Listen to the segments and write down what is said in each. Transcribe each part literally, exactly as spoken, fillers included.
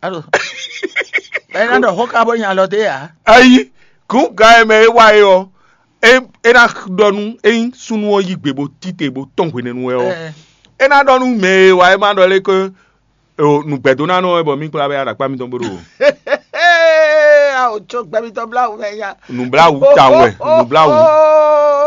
Alo, ɛ ná ɖɔ xó ká bó nya alɔ dé ǎ. Ayi, gǔn ga e mɛ é wa é ɔ́, é é ná ɖɔ nú ényí súnnu ɔ́ yí gbe bó tite bó tɔn hwenɛ́nu wɛ ɔ́, Ɛ. É ná ɖɔ nú mɛ e wa é ma ɖɔ lé ké nǔgbɛdónánɔ wɛ bɔ mí kplá bɛ aɖakpá mitɔn bó ɖo. Awo tso gbɛ mitɔn bla wú mɛ nya. Nǔbláwú ta wɛ, nǔbláwú.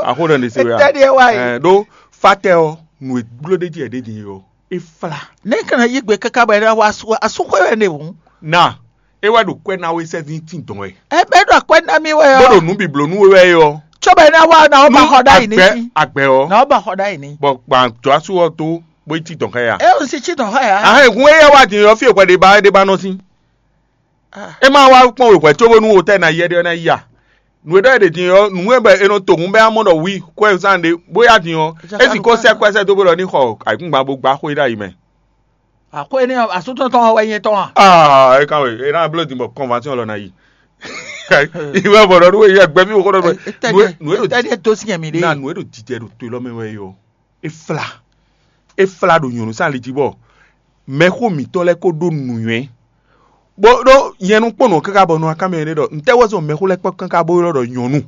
Axó ɖɔ ɖe se wɛ a? Etɛ́ ɖíe wa yi. Ɛ ɖó fatɛ ɔ́, nǔ e gbló ɖé jí ɛ ɖé din ɔ́, é flá. Ne kana yí gbe káká bɔ é ná wá asú asúxwé wɛ ɖe hǔn. Na é wá ɖo kwɛ ná wé sɛ́ dín tín dɔn wɛ. Ɛ bɛ ɖo akwɛ ná mì wɛ Bó ɖo ɔ́. Nǔ bǐbló nú we wɛ é ɔ́. Tsɔ́ bɛ ná wá ná wó ba xɔ ɖ'ayǐ ní agbɛ sí. Agbɛ ɔ́. Ná wó ba xɔ ɖ'ayǐ ní. Bɔ gbǎn jɔ asú ɔ́ tó bó yi tín dɔn xá ya. É ò sí cí dɔn xá ya. Ahɛn hun éyɛ́ wá din ɔ́ fí è hwɛ ɖé ba é ɖé ba nɔ sín. Ah. É ma wá kpɔ́n wěhwɛ cóbónú wotɛ́ ná yi ɛɖé ɔ́ ná yi a? Nǔ e ɖɔ è ɖe din ɔ́, nǔ e bɔ è nɔ to hǔn bɛ́ amɔ́ ɖɔ wi kwɛ́zán ɖé bó yá din ɔ́, é sixú sɛ́ kwɛ́ sɛ́ dó bó ɖɔ ní xɔ ayǐkúngban bó gbá xwé ɖ'ayǐ mɛ. Àxwé énɛ́ ɔ́, asútɔ́ tɔn ɔ́ wɛ nyí étɔn a? Aa é kan wɛ é ná bló din bɔ kɔnvansyɔn lɔ ná yi. Ìwé bɔ̀dọ̀ nú wéyí ẹgbẹ́ mí wò kó ɖɔ nú ẹ nú ẹ ɖo tɛ́ ní ẹ dó sí nyɛ mi ɖé. Na nú ẹ ɖo jijɛ ɖo to lɔ mɛ wɛ yɔ. É flá é flá ɖo nyɔ̌nu sín ali jí bɔ mɛxó mǐtɔn lɛ́ɛ kó ɖó nǔnywɛ́. Bó ɖó nyɛnu kpɔ́n nǔ ɔ́ káká bɔ nɔ akámɛ ɖé ɖɔ ntɛ́ wɛ zɔn mɛxó lɛ́ɛ kpɔ́n káká bó ylɔ́ ɖɔ nyɔ̌nu.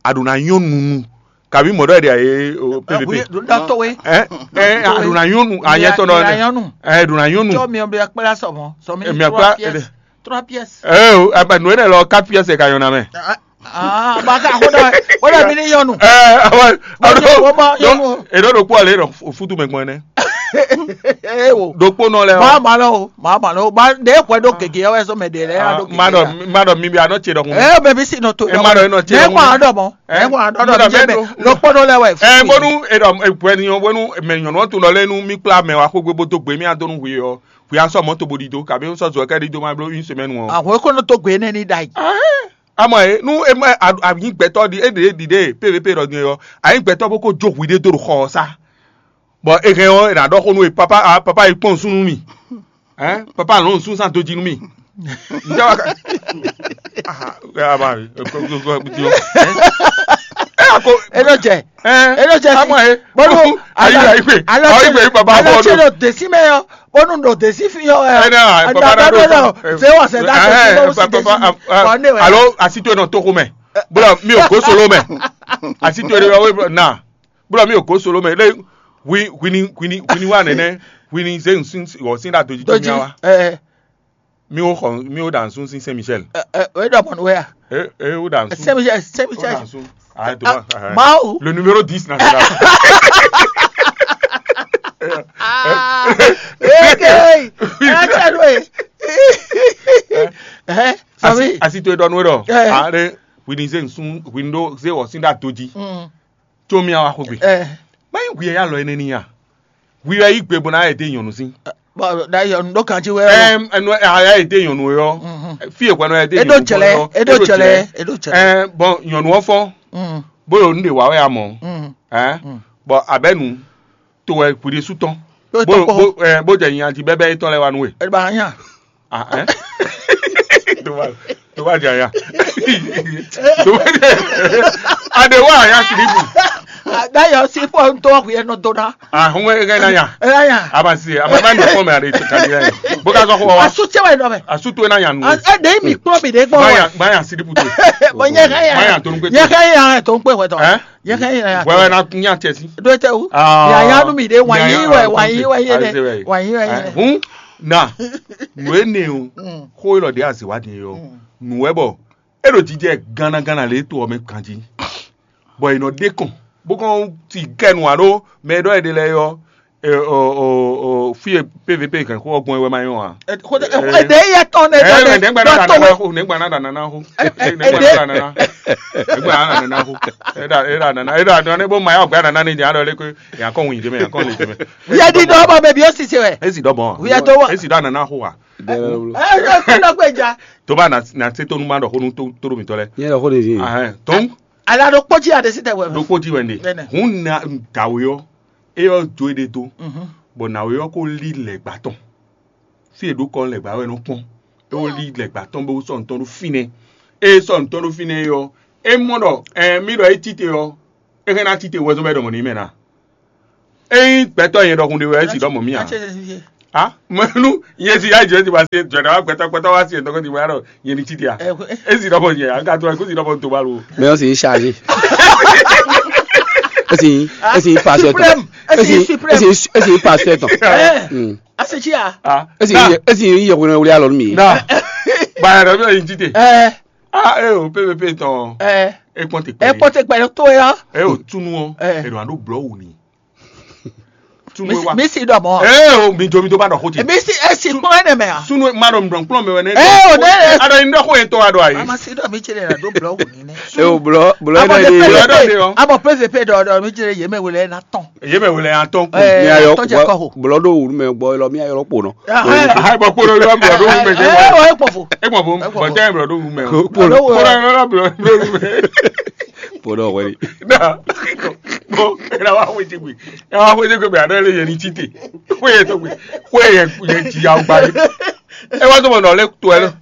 A ɖǒ ná nyɔ́ nunu kabí mɔ̌ ɖɔ è ɖe ayé o pvp. Ɖɔ to we. Ɛ ɛ a ɖǒ ná nyɔ́ nu anyɛ tɔn ɖɔ Nyɔnu. Ɛ ɖǒ ná nyɔ́ nu. Tsɔ mi ɔbɛ kpla sɔmɔ sɔmi Èmi trois akpla- pièces trois pièces. Ɛ o ɛ bɛ nù é lɔ quatre pièces ka nyɔna mɛ. Ah, ba ka ko dɔ o dɔ mi ni yɔnu. Ɛ awɔ Bɔn ɔdɔ wọ́n bá yɔnu. Èdò ɖokpó ɔlẹ́ ɖɔ fútu mɛ gbɔn ɛnɛ. Ee o. Ɖokpó nɔ lɛ Maa ɔ. Ma lɔ o, maa ma lɔ o, ba de hwɛ ɖo gege ɔwɛ sɔ mɛ de lɛ ya ɖo gege. Ma ɖɔ ma ɖɔ mi bi anɔ tse ɖɔkun. Ee mɛ bi si nɔ to. E ma ɖɔ e nɔ tse Ne ɖɔkun. Kɔn adɔ mɔ, ne kɔn adɔ Mɔ dɔ mi jɛ mɛ ɖɔ. Ɖokpó nɔ lɛ wɛ. Ɛ bónú e ɖɔ e bwɛ ni ɔn bónú mɛ nyɔnu ɔn tun ɖɔ lɛ nu mi kpla mɛ wa xó gbé bó dó gbé mi adó nu hwi ɔ hwi asɔ mɔto bó ɖi dó kabi sɔ zɔ kɛ ɖi dó ma bló une semaine ɔ. Ahwe ko nɔ to gbe ne ni da yi. Amɔ e nu e ma anyi gbɛtɔ ɖi e ɖe ɖi ɖe pvp ɖɔ din ɔ anyi gbɛtɔ bó ko jó hwi ɖé dó ɖo xɔ ɔ sá. Bɔ e hɛn ɔ e na ɖɔ xó nú e papa ah papa yi kpɔn nusú nú mi. Hein papa lɔn nusú sán dó jí nú mi. Ǹjẹ́ wàá ka ah ẹ a ma ẹ kó kó kó kó ẹ a ko Eɖo jɛ. Ɛ Eɖo jɛ si. Amɔ ye. Bonu Ayi ayi gbe. Ayi gbe papa Alɔ bɔ tse do. Ɖo desi mɛ yɔ. Bonu ɖo desi fi yɔ. Ɛ na papa na do. Fɛ wɔ sɛ da Ɛ to papa papa. Alo asi to nɔ toxo mɛ. Bolo mi o go solo mɛ. Asi to de wɔ na. Bolo mi o go solo mɛ. Le wi wini wini wini wa nɛnɛ wini ze nsin wɔ sin da doji to mi wa. Ɛ Mi wo xɔ mi wo ɖa nsun sín Saint Michel. Ɛ ɛ o ɖɔ mɔnu wɛ a? E e wo ɖa nsun. Saint Michel Saint Wo Michel. Ɖa nsun. Ah, to Ah, ma. Mawu. Le numéro dix national. Eke ɛ tɛ do ye. Ɛ Asi sɔmi. Asi to e ɖɔ nu ɖɔ. Ɛ. Ale wini ze nsun wini ɖo ze wɔ sin ɖa to jí. Mm. Tso mi awa xogbe. Ɛ. Mayi gbe ya lɔ ene ni ya. Hwi wɛ yí gbe bó ná yɛ dé nyɔ̌nu sín. Bon, d'ailleurs, ɖó kan jí wɛ. Ɛm, ɛnu aya yɛ dé nyɔ̌nu yɔ. Fí e hwɛnu yɛ dé Eɖo nyɔ̌nu jɛlɛ, yɔ. Eɖo jɛlɛ, eɖo jɛlɛ. Ɛm, bɔn nyɔ̌nu ɔ́ fɔ́n. Mm, Bó yɔ nu ɖe wǎ wɛ amɔ. Mm. Ɛn, Mm. Bɔn abɛnu to wɛ hwiɖésú tɔn. Yóò Bó tɔn kpɔ́. Bó ɛ bó jɛ nyanji bɛbɛ yětɔn lɛ wa nú we. Ɛ bá yàn. Ah, ɛn. Tó bá tó bá jẹ aya. Tó bá jẹ aya. Adé wá aya silipu. D'ailleurs, si fɔ ntɔ hwiɛ nɔ dona. Ah, hɔn ɛ gɛ na ya. Ɛ ya. Aba si, aba ba ni fɔ mɛ ale to kadi ya. Bó ka sɔ ko wa. Asu tse wɛ nɔ mɛ. Asu to na ya nu. Ɛ de mi kplɔ mi de gbɔ. Ba ya, ba ya silipu to. Bɔ nyɛ ka ya. Ba ya to nu pe to. Nyɛ ka ya to pe wɛ tɔ. Ɛn? Nyɛ ka ya. Wɛ wɛ na nya tɛ si. Do tɛ wu. Ah. Ya ya nu mi de wa yi wɛ, wa yi wɛ ye de. Wa yi wɛ ye de. Hun na. Nu ene o. Xó e lɔ de aziwa din yɔ. Nu wɛ bɔ. E ɖo jijɛ gánnaganna lě to ɔ́ mɛ ganjí, bɔ è nɔ ɖe kɔn, bó kɔn ti kɛ nǔ ǎ ɖó mɛ e ɖɔ è ɖe lɛ́ɛ ɔ́, ɛ, ɔ, ɔ, ɔ, fí e P V P hɛn xó ɔ́ gbɔn é wɛ ma nyɔ́ ǎ. Xɔdɛ Ɛ, ɛdɛ yɛ tɔn ne ɛ, dɔ ɛ, nɛgbɛ na dɔ da to nana xó, nɛgbɛ na da nana xó, ɛ, ɛ, nɛgbɛ na da nana, nɛgbɛ na da nana xó, ɛ da ɛ da nana ɛ da nana ne bó ma yà gbɛ nana ne nya ɖɔ lé ko yà kɔ wun yi dé mɛ yà kɔ wun yi dé mɛ. Yɛ di dɔ bɔ bɛ bi o sise wɛ. Esi dɔ bɔn. Wíyá tó wà. Esi dɔ nana xó wa. Ɛ ɛ kí ló gbé ja. Tó bá na na se tó nu ma ɖɔ xó nu tó tó ɖo mi tɔ lɛ. Yẹn lọ kó de fi. Ahɛn tó ń Ala ɖo kpɔtsi aɖe si tɛ wɛ. Ɖo kpó dzi wɛ ne. Nɛnɛ. Hún na dàwé ɔ eyɔ do e ɖe do. Mhm. Bɔ nàwé ɔ kó lí lɛgbà tɔn. Fi e ɖo kɔ lɛgbà wɛ nɔ kpɔn. E wo lí lɛgbà tɔn bó sɔ ntɔn ɖo fínɛ. E sɔ ntɔn ɖo fínɛ yɔ. E mɔ ɖɔ ɛ mi ɖɔ e tite ɔ. E hɛn na tite wɛzɔn bɛ ɖɔ mɔ ní mɛ na. Eyin gbɛtɔ yẹn ɖɔkun ɖe wɛ e si ɖɔ mɔ mí a. Ah, menu, yesi ya jɛ ti wasi jɔda wa gbɛtɔ gbɛtɔ wasi en tɔgɔ ti wa ɖɔ yeni ti dia. Esi dɔ bɔ yɛ aga to ko si dɔ bɔ to balo. Mais on s'est chargé. Esi esi pastor tɔn. Esi esi esi pastor tɔn. Asechia. Ah, Esi na, esi yɛ wɛrɛ wuli alɔ mi. Na, ba ya dɔ bi yeni ti te. Ɛ Ah, e o P V P tɔn. ɛ E kpɔn te ɛ kpɛ. Kpɔtɛ kpɛ to ya. E o tunu o. Eh. E do ando blɔ wu ni. Tunu wa. Mi si dɔ mɔ. E o mi jo mi to ba dɔ ko ti. Mi si esi kpɔn ɛnɛ mɛ a. Sunu ma dɔ mi dɔ kplɔn mi wɛ ne. Eh, o ne. Ada yin dɔ ko yɛn tɔ wa dɔ ayi. Ama si dɔ mi tse ɖe na do blɔ wu ni nɛ. E o blɔ blɔ Abo yɛ de ɖe pe yɛ. Blɔ de dɔ pe. de o. Abo P V P dɔ dɔ mi tse ɖe yemɛ wele na tɔn. Ye mɛ wele yan tɔn ko. Eh, Mi ayɔ tɔn jɛ kɔ ho. Blɔ do wulu mɛ gbɔ lɔ mi ayɔ lɔ kpo nɔ. Ayi bɔ kpolo lɔ blɔ do wu mɛ jɛ Eh, wa. o ekpɔ fo. E gbɔn fo. Bɔn tɛ blɔ do wu mɛ o. Kpo lɔ Kpolo lɔ blɔ do wu mɛ. kpo lɔ wɛli. Na. Bɔn e na wa xwe jegbe. E wa xwe jegbe bɛ a dɔ le yeni ti te. Xwe ye to gbe. Xwe ye ye ti ya o gba ye. E wa to mɔ nɔ le to ɛ lɔ.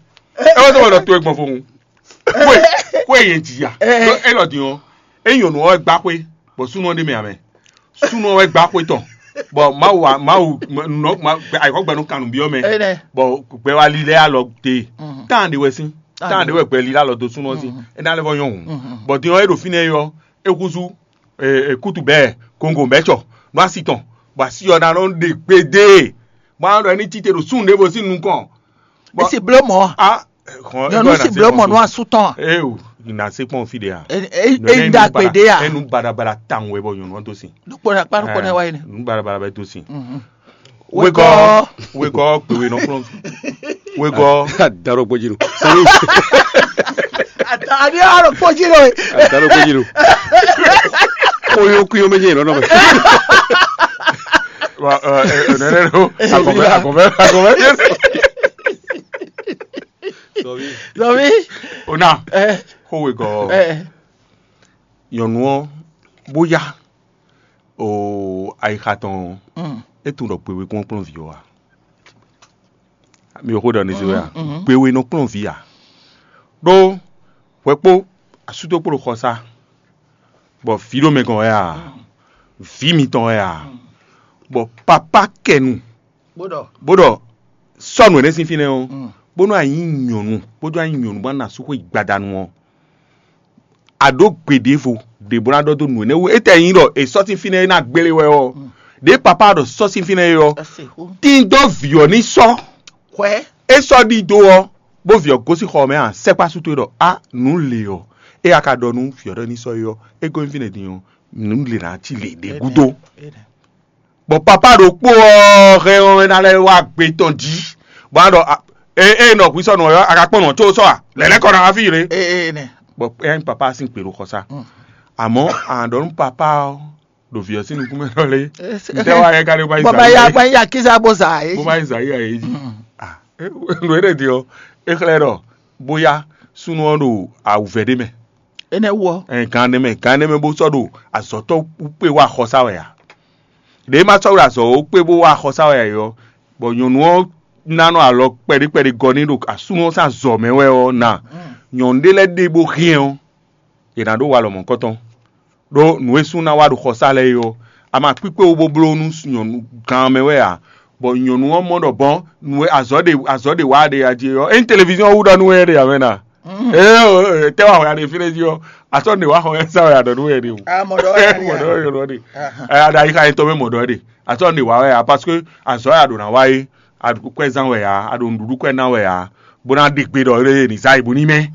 E wa to mɔ nɔ to e gbɔn fo. Xwe xwe ye ti ya. E lɔ di o. E nyɔnu ɔ gba xwe. Bɔn sunu ɔ de mɛ amɛ. Sunu ɔ wɛ gba xwe tɔn. Bɔn mawu wa mawu nɔ ma ayikɔ gbɛnu kanu bi ɔ mɛ. Enɛ. Bɔn gbɛ wa lilɛ alɔ te. Tan de wɛ sin. Tan de wɛ gbɛ lilɛ alɔ do sunu ɔ sin. E na lɛ fɔ nyɔnu. Bɔn din ɔ e ɖo finɛ yɔ. E kuzu e kutu bɛ kongo bɛ tsɔ. No asi tɔn. Bɔn asi ɔ na nɔ de gbede. Bɔn a nɔ ɖɔ ɛni tite ɖo sun ɖe bo sin nukɔn. Mi si blo mɔ. Ah. Nyɔnu si blo mɔ nua su tɔn. Ee o, na se kpɔn fi de ya. E e e da gbe de ya. Enu badabada tan wɛ bɔ nyɔnu to sin. Nukpɔ na kpa nukpɔ na wa yi ne. Nu badabada bɛ to sin. Wekɔ. Wekɔ gbewe nɔ kplɔn. Wekɔ. Daro gbɔdzi nu. Sami. Ani aro kpɔdzi lo. Daro gbɔdzi nu. Koyo kuyo mɛ nyɛ lɔnɔ mɛ. Wa ɛ ɛ nɛnɛ do. Akɔfɛ akɔfɛ akɔfɛ. Zɔmi. O na. Ɛ Ko wekɔ. ɛ. Nyɔnu ɔ bóyá o ayixa tɔn Mm. e tun ɖɔ gbewe kún kplɔn vi ɔ wa. Mi ò xó ɖɔ ní se wɛ a? Gbewe nɔ kplɔn vi a? Ɖó hwɛ kpó asútó kpó ɖo xɔsá, bɔ vǐ ɖo mɛ gɔn wɛ a? Vǐ mitɔn wɛ a? Bɔ papá kɛnu Bó ɖɔ. bó ɖɔ sɔ́ nǔ énɛ́ sín fínɛ́ ɔ́, bónú a nyí nyɔ̌nu bónú a nyí nyɔ̌nu bó ná sú xwé gbadanu ɔ́, a ɖǒ gbe ɖěvo ɖě bó ná ɖɔ dó nǔ énɛ́ wú. Étɛ́ nyí ɖɔ è sɔ́ sín fínɛ́ é ná gbélé wɛ ɔ́, ɖě papá ɖɔ sɔ́ sín fínɛ́ é ɔ́, Ese xó. tín dó vǐ ɔ́ ní sɔ́. Xwɛ. É sɔ́ ɖi dó ɔ́, bó vǐ ɔ́ gosín xɔ mɛ a sɛkpá sú towe ɖɔ a nǔ le ɔ́, é a ka ɖɔ nú vǐ ɔ́ ɖɔ ní sɔ́ é ɔ́, é gosín fínɛ́ din ɔ́, nǔ le ná cí le ɖě gúdo. Bɔ papá ɖokpó ɔ́ hɛn ɔ́ ná lɛ́ wá gbe tɔn jí, bɔ a ɖɔ e e nɔ hwi sɔ́ nɔ ɔ́, a ka kpɔ́n nɔ có sɔ́ a lɛ̌lɛ́ kɔ ná wá fí yě. Ee ne. Bɔ ɛ nyí papá sín kpe ɖo xɔ sá. Àmọ́ a ɖɔ nú papá ɔ́ ɖo vǐ ɔ́ sín nukún mɛ ɖɔ lé. Ntɛ́ wá yɛ ka ɖé bá yi Bɔn ma ya zǎn ma ya kisa bó sa yé. Bó má yi zǎn yí ayé jí. Nǔ éɖé din ɔ́, é xlɛ́ ɖɔ bóyá súnnu ɔ́ ɖo awǔvɛ́ ɖé mɛ. Ene wɔ. Ɛ gan ɖé mɛ gan ɖé mɛ bó sɔ́ ɖo azɔ̌tɔ́ kpé wá xɔsá wɛ a? Ɖě ma sɔ́ ɖo azɔ̌ kpé bó wá xɔsá wɛ a ɔ́, bɔ nyɔ̌nu ɔ́ ná nɔ alɔ kpɛɖé kpɛɖé gɔ́ n'i ɖo asúnú ɔ́ sín azɔ̌ mɛ wɛ ɔ́ ná nyɔ̌nu ɖé lɛ́ɛ ɖe bó hɛn ɔ́, è nǎ ɖó walɔ mɔ̌kɔtɔn. Ɖó nǔ e sú ná wá ɖo xɔsá lɛ́ɛ é ɔ́, a ma kpíkpé wú bó bló nú nyɔ̌nu gan mɛ wɛ ǎ, bɔ nyɔ̌nu ɔ́ mɔ ɖɔ bɔn nǔ e azɔ̌ ɖe azɔ̌ ɖe wá ɖe a jí é ɔ́, ényí televíziɔ́n wú ɖɔ nú we ɖe ǎ mɛ na. Ee, tɛ wa hɔn ya ɖe fi ɖe jí ɔ, atɔ ne wa xɔ ya sa ya ɖɔ nu yɛ de o. Amɔ ɖɔ Mɔ ɖɔ yɛ ɖɔ de. Ɛ aɖa yi xa yɛ tɔ bɛ mɔ ɖɔ de. Atɔ ne wa ya parce que azɔ ya ɖo na wa ye. Aɖu kwɛ zan wɛ ya, aɖu nuɖuɖu kwɛ na wɛ ya. Bo na ɖe gbe ɖɔ ye ni za ibu ni mɛ.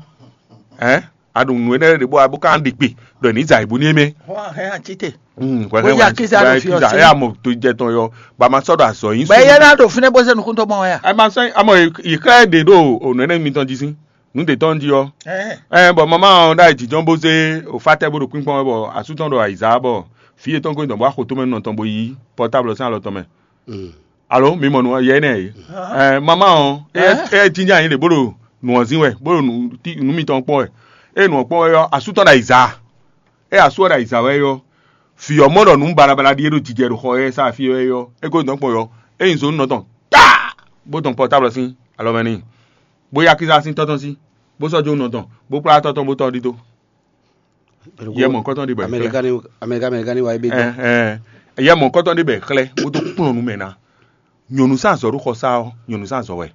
Ɛ aɖu nu ne ɖe bo abo kan ɖe gbe ɖɔ ni za ibu ni mɛ. Hɔn hɛn ati te. Hmm, kwɛ Bo ya kiza ɖo fi ɔsi. Ya mɔ to jɛ tɔn yɔ. Ba ma sɔ ɖo azɔ yin. Bɛ yɛ na ɖo fi ne bo se nukun tɔ mɔ ya. Ɛ ma sɔ amɔ yi kɛ de ɖo o nɛ ne mi tɔn ji sin. Nu de tɔn ji ɔ. Ɛ bɔn mama ɔn ɖa yi jijɔn bo ze o fa tɛ bo ɖo kpínkpɔn wɛ bɔ asu tɔn ɖo ayiza bɔ fi yetɔn ko dɔn bo axo tomɛ nɔ tɔn bo yi portable sin alɔ tɔn mɛ. Alo mi mɔ nu yɛ nɛ ye. Ɛ mama ɔn e e jinja yin le bo ɖo nu ɔzin wɛ bo ɖo nu ti nu mitɔn kpɔn wɛ. E nu ɔkpɔn wɛ yɔ asu tɔn ɖo ayiza. E asu ɔ ɖo ayiza wɛ yɔ. Fi ɔ mɔ ɖɔ nu balabala ɖi e ɖo jijɛ ɖo xɔ yɛ sa fi wɛ yɔ. E ko dɔn kpɔn yɔ. E yin zonu nɔ tɔn. Ta bo dɔn portable sin alɔ mɛ ni. Bó yá kísá sín tɔ́ tɔn sí, bó sɔ́ jó nɔ tɔn, bó kplá tɔ́ tɔn bó tɔ́ ɖidó. Yɛ mɔ̌kɔ́tɔn ɖé bɔ è xlɛ́. Amɛrika ni Amɛrika Amɛrika ni wa ebe. Ɛ, ɛ, yɛ mɔ̌kɔ́tɔn ɖé bɔ è xlɛ́ bó dó kplɔ́n nú mɛ ná. Nyɔ̌nu zán azɔ̌ ɖo xɔsá ɔ́, nyɔ̌nu zán azɔ̌ wɛ.